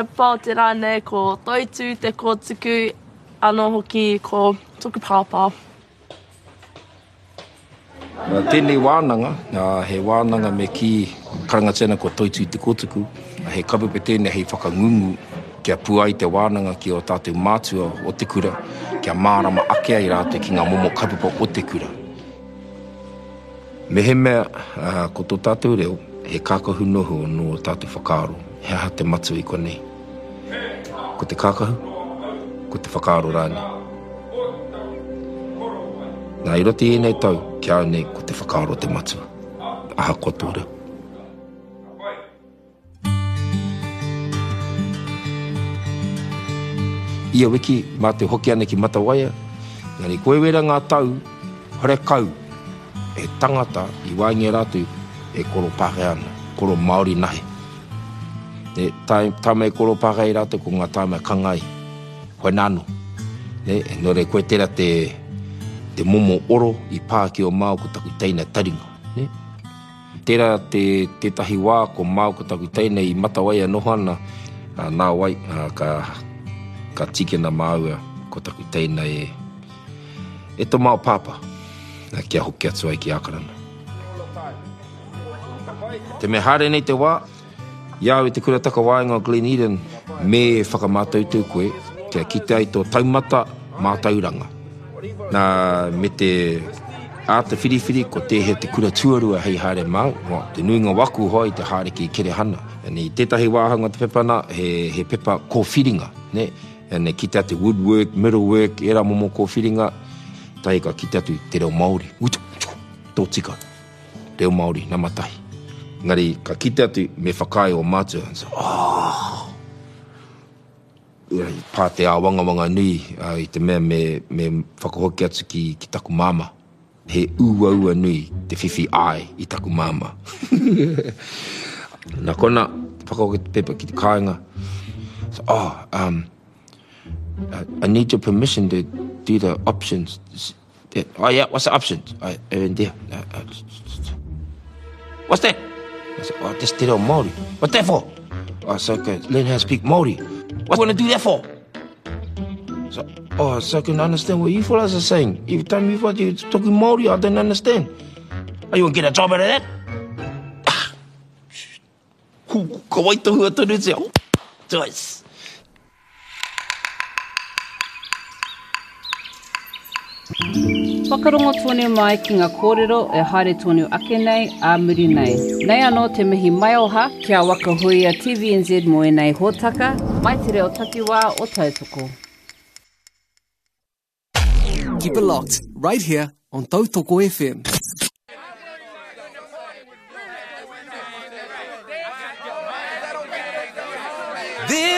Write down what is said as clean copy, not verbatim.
Papa o te rā nei ko Toitū te kōtuku, anō hoki ko toku pāpā. Nā tēnei wānanga, he wānanga me kī karangatia ana ko Toitū te Kōtuku, he kaupapa tēnei hei whakangungu kia pua ai te wānanga ki ō tātou mātua o te kura, kia mārama ake ai rātou ki ngā momo kaupapa o te kura. Mehemea ko tō tātou reo he kākahu noho nō ō tātou whakaaro, he aha te matua i konei? Ko te kākahu? Ko te whakaaro rānei? Nā, i roto i ēnei tau, ki a au nei, ko te whakaaro te matua, ahakoa tō reo. Ia wiki, mātou hoki ana ki Matawaia, engari koe wera ngā tau, horekau he tangata i waenga i a rātou e koro Pākehā ana, koro Māori nahe. Ne, tāma e koro Pākehā i rātou ko ngā tāma e kanga ai, koe nāno. Ne, nō reira koe tērā te, te momo oro i pā ki o māua ko taku teina taringa. Ne. Tērā te, tētahi wā ko māu ko taku teina i Matawaia noho ana, ā, nāwai, ā, ka, ka tīkina māua ko taku teina e, e tō māua pāpā, ā, kia hoki atu ai ki Ākarana. Te mea haere nei te wā, I a au i te kura takawaenga o Glen Eden, me whakamātautau koe kia kite ai tō taumata mātauranga. Nā, me te āta whiriwhiri ko tēhea te kura tuarua hei haere māu, well, te nuinga o aku hoa i te haere ki Kerehana. And i tētahi wāhanga o te pepa nā, he, he pepa kōwhiringa, nē? And kite atu woodwork, metalwork, ērā momo kōwhiringa, tahi ka kite atu te reo Māori. Utu, utu, tō tika. Reo Māori, nama tahi. Engari, ka kite atu, me whakaae ō mātua. And so, oh! I pā te āwangawanga nui i te mea me, me whakahoki atu ki, ki taku māmā. He uaua nui te whiwhi āe i taku māmā. Nā kona, whakahoki te pepa ki te kāinga. So, oh, um, I need your permission to do the options. Oh yeah, what's the options? I, and there. What's that? I said, oh, this te reo Māori. What's that for? I said, okay, learn how to speak Māori. What do you want to do that for? So, oh, so I can understand what you fellas are saying. Every time you fellas you're talking Māori, I don't understand. Oh, you want to get a job out of that? Ah. Ka waitohua tonutia. Joyce. Whakarongo tonu mai ki nga kōrero e haere tonu ake nei, ā muri nei. Nei anō te mihi maioha ki a Waka Huia TVNZ mō ēnei hōtaka, mai te reo takiwā o Tautoko. Keep it locked right here on Tautoko FM.